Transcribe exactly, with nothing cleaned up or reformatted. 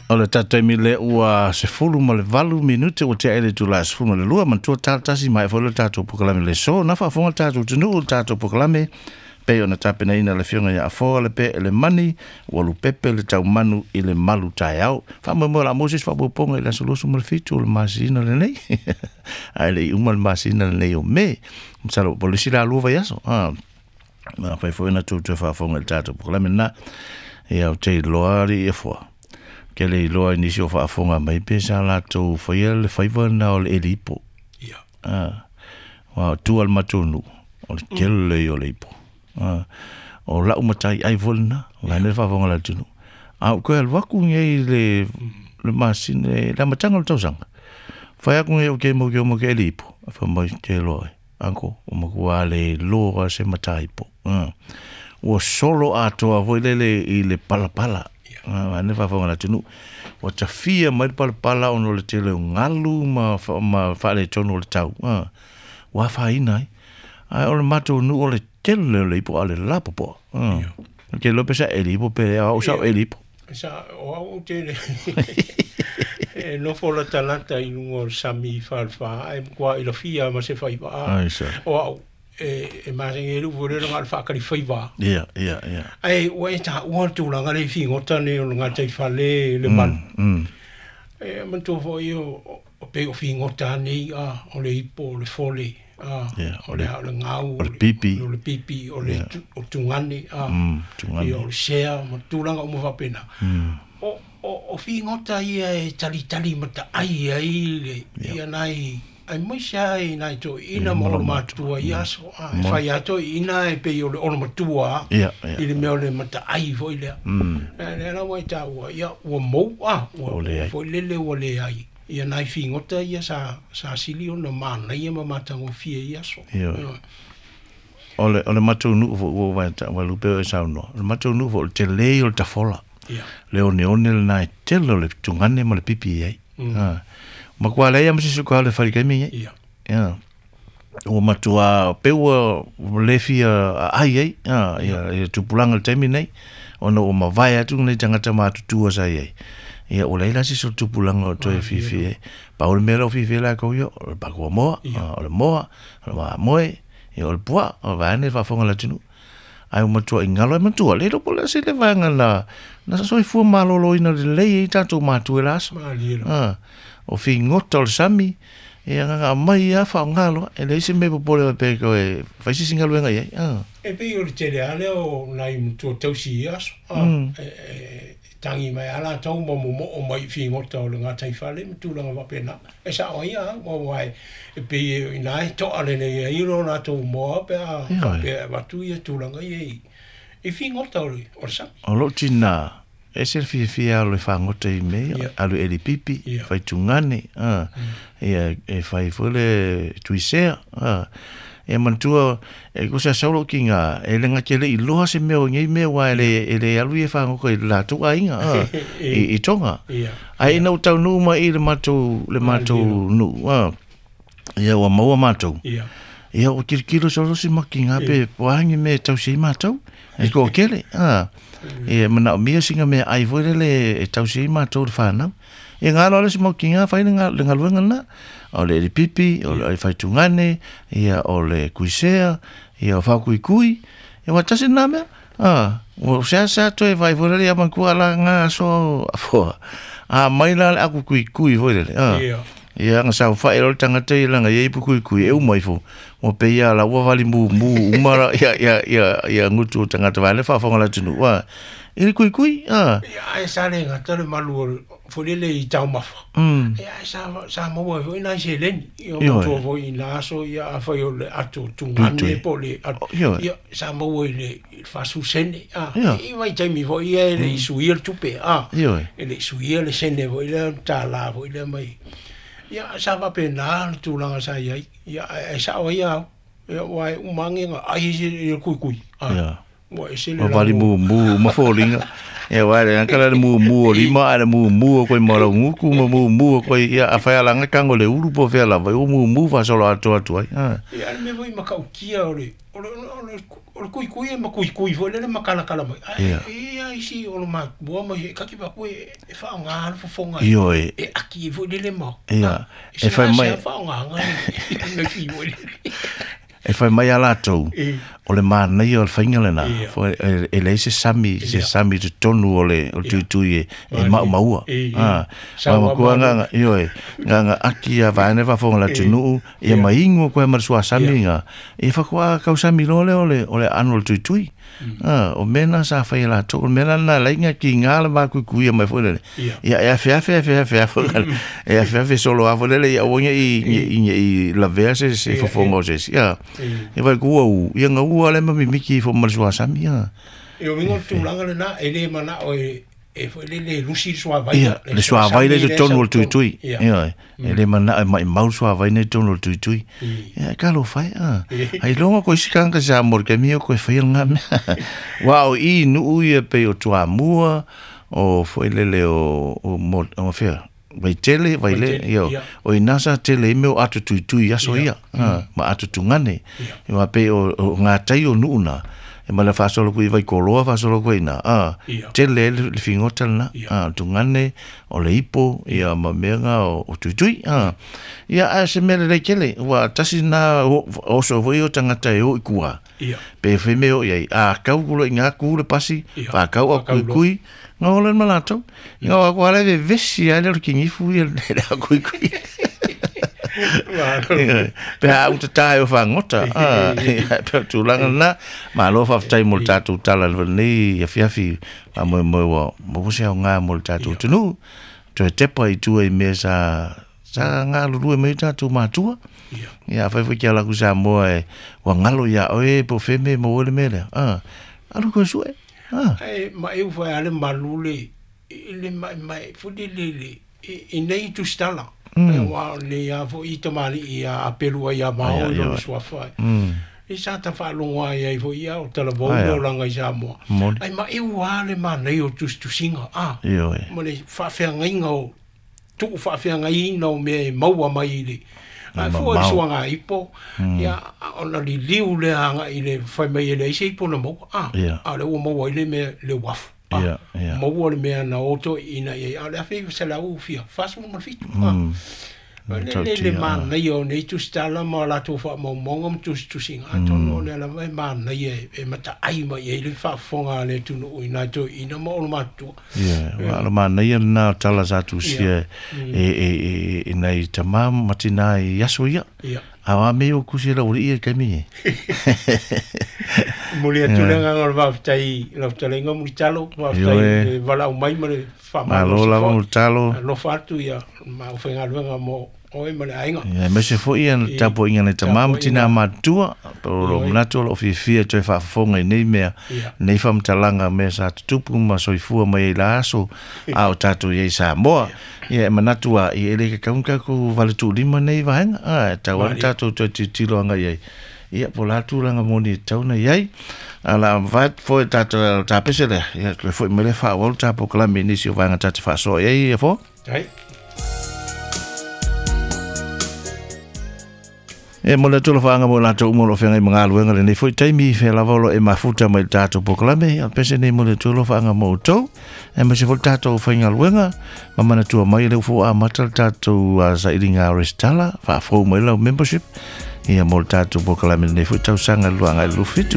O le tatou taimi lea ua sefulu ma le valu minute ua tea ai le itula e sefulu ma le lua, manatua tala tasi ma e foi le tatou polokalame le aso na faafofoga le tatou atunuu le tatou polokalame pei ona tapenaina le afioga ia Afoa le pe le mani ua lupepe le taumanu i le malu taeao. Faamoemoe o le a maua se isi faaopoopoga i le aso luasefulu ma le fitu o le masina lenei. Ae le i uma le masina lenei o Me. Masalo po o le isi la lua vaiaso. Ah, afai foi na tou toe faafofoga i le tatou polokalame lena. Ia ou te iloa alii Afoa. Ke le iloa i nisi o faafofoga mai pe sa latou faia le faiva lena o le eli ipo. Ia. Ah, aua o tua o le matou nuu, o le tele ia o le ipo. Ah, o lau matai ai foi lena, o la e faafofoga le atunuu. A ou toe alu atu nei le, le masina, le amataga o le tausaga. Fai atu nei o ke mau ke o mau ke eli ipo. Fai mai te loa e, uncle, o matua le iloa se mataipo. Ah. Ua solo atoa foi lele i le palapala. Ah, ane faafofoga le atunuu. Ua tafia mai le palapala ona o le tele o galu ma, ma faaletonu o le tau. Ah. Ua afaina ai. Ae o le matou nuu o le tele o le ipo a o le lapopoa. Ah. Ke iloa pe sa eli ipo pe au sa eli ipo. Sa o au ou te le e nofo latalata i luga o le sami i Falefa ae matua ilafia ma se faiva. Ai sa. O au e e masani ai le upu lea na o le faakali faiva. Ia, ia, ia. Ae ua e taua le tulaga lea i figota nei o le gataifale le malu. Mm. E manatua foi o o pei o figota nei a o le ipo o le fole a Ia, o le o le gau o le pipi. O le pipi o le o tugane a Mm, tugane. Ia o le sea ma tulaga uma faapena. Mm. O o o figota ia e talitali mataai ai le ia nai aemaise ai nai toeaiina ma olo matua i aso a e fai lava toeaiina e pei o le olo matua Ia, ia. i le mea o le mataai foi lea. Mm. Lea la ua e taua ia ua mou a ua Ua leai. foi lele ua leai ia nai figota ia sa sa sili ona manaia ma matagofie i aso. Ia. O le o le matou nuu foi ua ua ua lupe o e saunoa. O le matou nuu foi o le tele o le tafola. Ia. Le oneone lena e tele o le tugane ma le pipi i ai. Mm. Ah. Matua leai ma se isi o le fai i le taimi nei. Ia. Ia. Ua matua pei ua le fia ai ai, ah, ia, ia tupulaga i le taimi nei, ona ua mavae atu lenei tagata matutua sa i ai. Ia, ua leai la se isi o le tupulaga o toe fiafia ai. Pau le mea la ua fiafia ai latou ia, o le pakua moa, o le moa, o le mamoe, ia o le puaa, o vaeane le faafofoga a le atunuu. Ae ua matuai galo ai matua, le iloa po o le a se le vaega na, na soifua maloloina lelei ai tatou matua i la aso. Malie lava. Ah, o figota o le sami, ia na aumai lava faaaoga loa, e leai se mea e popole ai pe toe fai se isi galuega i ai. Ah. E pei o le tele lava lea o nai matua tausi i aso, ah, Mm. e, e, e tagi mai lava latou ma momoo mai i figota o le gataifale ma tulaga faapena. E sao ai lava, aua e, e pei e ina e toa lelei ai lo latou moa pe a Ioe. faapea e avatu ia tulaga ia i, i figota o le, o le sami. O lou tinā, e ese le fiafia alu e fagota i mea, Ia. alu eli pipi, Ia. fai tugane, ah, ia, e fai foi le tuisea, ah. E manatua, e ko se sau lou kiga, e le gata e le i iloa se mea o nei mea, aua e le, e le alu ia e fagota i le latou aiga, ah, i, i Tonga. Ia. Ae ina ua taunuu mai i le matou, le matou nuu, ah, ia ua maua matou. Ia. Ia ua tilotilo solo si makiga pe po a ni mea e tausi ai matou. E toatele, ah. Ia manaomia sina mea ai foi lele e tausi ai matou le whanau. Ia ngā loa le si makiga whai le ngā- le galuega lena. O le eli pipi, o le faitugane, ia o le kuisea, ia o whakuikui. Ia ua tasi nā mea. Ah, ua sea sea toe whai foi lele ia mankua la ngā aso afoa. A mai la le aku kuikui foi lele. Ah. Ia. Ia nga saofai loa le tagata ia laga ia ipu kuikui e uma ifo. Ua pei ia la ua vali mumu uma la ia ia ia ia gutu o tagata vae le faafofoga le atunuu. Ah, i le kuikui, ah. Ia, ae sa le gata le malu o le- foi lele i taumafa. Mm. Ia, ae sa, sa maua ai foi nai seleni. Ia, Ioe. matua foi i nā aso, ia, afai o le ato tugane Tuitui. po o le ato. Ioe. Ia, sa maua i le i le faasu sene. Ah, Ia. i vaitaimi foi ia e le i suia le tupe. Ah, Ioe. e le i suia le sene foi lea, tālā foi lea mai. Ia, sa faapena le tulaga sa i ai. Ia, ae sao ai au. Ia, aua e uma age ga ai se i le kuikui. Ah, Ia. Ua ese le Ma vali mumu ma foliga. Ia wa le kala le mumu o lima a le mumu o koe malau guku ma mumu o koe ia a whai alanga kango le ulu po fea lava o mumu fa solo atu atu ai. Ia le mea foi makautia o le o le o le o le kuikui e makuikui foi lele makalakala mai. Ai ia isi o le matua ma he kaki pa koe e whaonga le fofonga. Ioe. E aki foi lele ma. Ia. E whai mai. E whaonga ngai me fi foi lele. E whai mai a lātou, o le mānaia o le whainga lena, e, e lei se sami, se sami te tonu o le, o le tuitui e, e mau maua. Ah, ma nganga, ioe, nganga aki a vaene whafonga la tunuu, ia maingo koe ma le sua sami nga, e whakua kau sami loa le o le, o le anu o le tuitui. Ah, o mena sa whai lātou, o mena na leinga ki ngā le mākuikuia mai foi lele. Ia e afe afe afe afe afe, e afe afe solo afo lele, ia uanga i, i, i, i lavea se, se fofonga o se. Ia, e vai kua u, ia ngā ua le mamimiki fo ma le sua sami ia. E o mingo tulaga lena, e le mana o e e foi le le lusi le suavai. Ia, le suavai le tonu o le tuitui. Ia, e le mana e mai mau suavai le tonu o le tuitui. Ia, ka lo whai, a. Hai longa koe si kanga sa mor ke mio koe whai ngā mea. Wa o i nuu ia pe o tuamua, o foi lele o, o, o, o whea. Vai tele, vai le, io. O i nasa tele i meo atu tuitui aso ia, ma atu tungane. Ia pe o, o ngā tai o nuuna. E ma le whasolo kui vai koloa whasolo kui na. Ah, tele le fingota na. Ah, tungane o le ipo ia ma mea ngā o, o tuitui. Ah. Ia a se mele le kele. Wa tasi na o so voi o tangata e o i kua. Pe whe meo iai. A kau kulo i ngā kule pasi. Wha kau a kui kui. Ngā ole ma lātou. Ngā wako ala e vesi a le kingifu i le a kui kui. Pe a uta tae o whangota. Pe tūlanga na. Ma alofa whaftai mo le tātou tala nei awhiawhi. Ma moe moe wa mo se au ngā mo le tātou tunu. Toe tepa i tua i mea sa sa ngā lulue mai tātou mātua. Ia whai whai kia laku sa moa e wa ngalo ia oe po wheme mo ole mele. Alu koe sue. Ai ma e uwhai ale malule le mai mai fuli le le i nei tustala. E wa le ia fo i tamali ia apelua ia mao i lo suafa. I sa ta whalonga ia i fo ia o tala vau o langa i Samoa. Ai ma e ua le manei o tustusinga. Ah, ma le whaawheangainga o tuku whaawheangaina o mea e maua mai i le. Ai fo i suanga ipo, ia ona li liu le anga i le whai mai e le ise ipo na maua. Ah, a le ua maua i le mea le wafu. Ia, ia. Maua le mea na oto ina ia a le afe se la u fia fasu ma fitu. Ah. Le le le manai o nei tustala ma la tu fa mo mongo tustusinga atono le la mai manai e e mata ai mai e le fa fonga le tu no ina to ina mo o matu. Ia, wa la manai na tala sa tu si e e e e nei tama matina i aso ia. Ia. Awa me o kusi la uri ia kemi. Muli atu le nganga o waftai, la whatalenga mulitalo, waftai wala umai ma le whamalo. Malo lava mulitalo. Alofa atu ia, ma o whaingaluenga mo oe ma le ainga. Ia, mese fo ia na tapo inga le tamama tina matua, o mnatu o lo fiafia toe whaafonga i nei mea, nei whamtalanga mea sa tutupu ma soifua mai la aso, a o tātou i Samoa. Ia, e manatua i ele ka kaunga ku vale tūlima nei vaenga, a, tau ana tātou toe titilo anga iai. Ia, po la tūlanga moni e tauna iai. Ala, vai foi tātou tāpese lea. Ia, le foi mele wha walu tāpo kalame nisi o vaenga tāte whaasoa iai, ia fo? Hai. E mo le tula whaanga mo lātou umo lo whenga i mga aluenga le nei foi taimi whea lava lo e mafuta mai tātou pokalame. A pese nei mo le tula whaanga mo tau. E ma se fo tātou whainga aluenga. Ma mana tua mai le ufo a mata tātou a sairinga restala. Whaafou mai lau membership. Ia mo le tātou pokalame nei foi tau sanga luanga i lufitu.